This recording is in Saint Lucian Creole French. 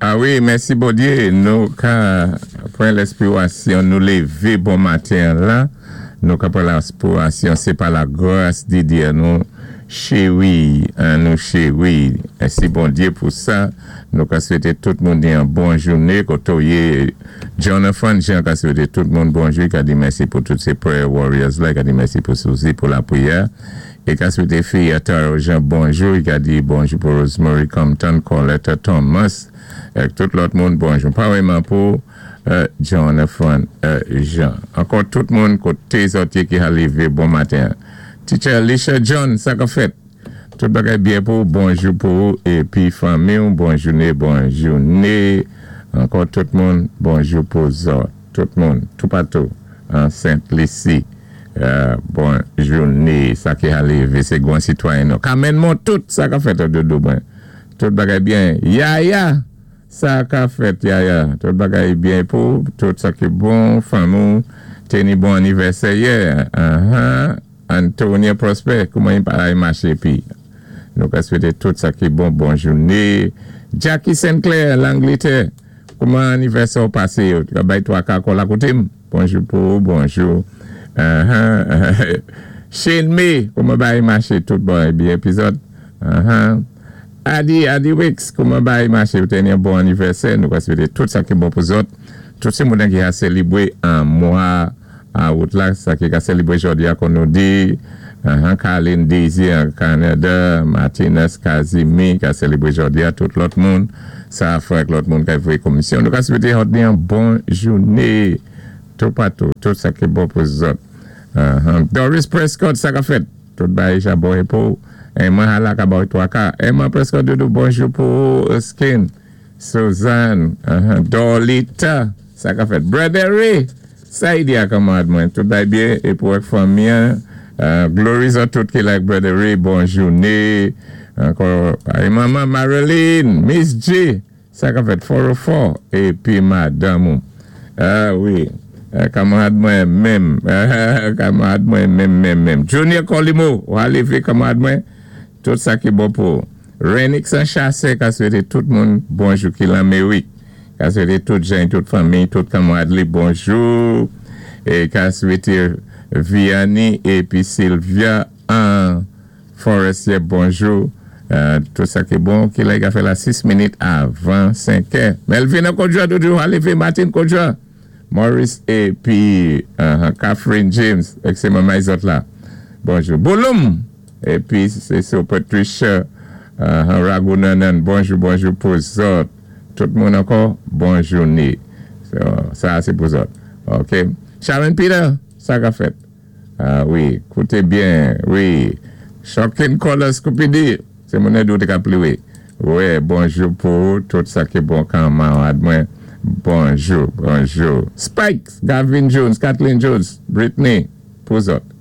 A wi, mèsi Bondyé, nou ka pran lèspirasyon, nou lévé bon maten la, nou ka pran lèspirasyon, sé pa la gras di Dyé nou chéri, an nou chéri. Mèsi Bondyé pou sa. Nou ka swété tout moun yon bon jouné koté ou yé. Jonathan Jean ka swété tout moun bonjou, ka di mèsi pou tout sé prayer warriors la, ka di mèsi pou Suzy pou lapwiyè. É ka swété fi Taro Jean bonjou, ka di bonjou pou Rosemary Compton, Coletta Thomas, ak tout lòt moun bonjou. Paréyman pou Jonathan Jean. Ankò tout moun koté zòt ki lévé bon maten. Teacher Alicia John, sa ka fèt? Tout bagay byen pou bonjou pou épi fanmi, bon jouné, bon jouné. Ankò tout moun, bonjou pou zòt. Tout moun, toupatou, an Sent Lisi. Bon jouné, sa ki a lévé, sé gran sitwayen nou. Carmen tout, sa ka fèt doudou mwen. Tout bagay byen. Yaya, sa ka fèt Yaya. Tout bagay byen pou, tout sa ki bon, fanmi, téni bon anivèsè yè. Antonia Prosper, kouman i pa maché pi. Nou ka swété tout sa ki bon, bon jouné. Jackie Sinclair, Langlétè, kouman anivèsè pasé? Ka bay twa ka kò la koté Bonjou pou bonjou. Shane May, kouman bay maché tout bon byen épizòd. Adi, Adi Wicks, kouman bay maché, ou téni yon bon anivèsè, nou ka swété tout sa ki bon pou zòt. Tout sé moun ki a sélébwé an mwa out la, sa ki ka sélébwé jòdi a kon nou di, Carlin Désir an Kanada, Martinez Kazimi ka sélébwé jòdi a, tout lòt moun, sa fè lòt moun ki voyé komisyon. Nou ka swété yon bon jouné toupatou, tout sa ki bon pou zòt. Doris Prescott, sa ka fèt. Tout bagay ja bon pou. Emma Halaka ba twa ka. Emma Prescott doudou bonjou pou Skin. Suzanne, Dolita, sa ka fèt. Brother Ray, sa i di a kanmarad mwen. Tout bagay byen é pou ak fanmi. Glory zòt tout ki like Brother Ray, bon jouné. Ankò, manman Marilyn, Miss J, sa ka fèt 404 épi madanm. A wi, kanmarad mwen menm, kanmarad mwen menm menm menm. Junior Colimo, ou a lévé kanmarad mwen, tout sa ki bon pou. Renix an chasè ka swété tout moun bonjou ki Lamérik. Ka swété tout jan, tout fanmi, tout kanmarad li bonjou. É ka swété Vianney épi Sylvia an Forestier bonjou. Tout sa ki bon, ki la, i fè la 6 minit avan 5 è. Melvin Kodja, doudou, lévé Martin Kodja. Maurice épi Catherine James, sé manman zòt la. Bonjou. Bouloum! Épi sé sou Patricia Ragunanan, bonjou, bonjou pou zòt. Tout moun ankò, bon jouné. So, sa sé pou zòt. OK. Sharon Peter, sa ka fèt. A wi, kouté byen, wi. Shocking Colors Koupidi, sé moun dou té ka pliwé. Wi, bonjou pou tout sa ki bon kanmarad mwen. Bonjou, bonjou. Spikes, Gavin Jones, Kathleen Jones, Britney, pou zòt.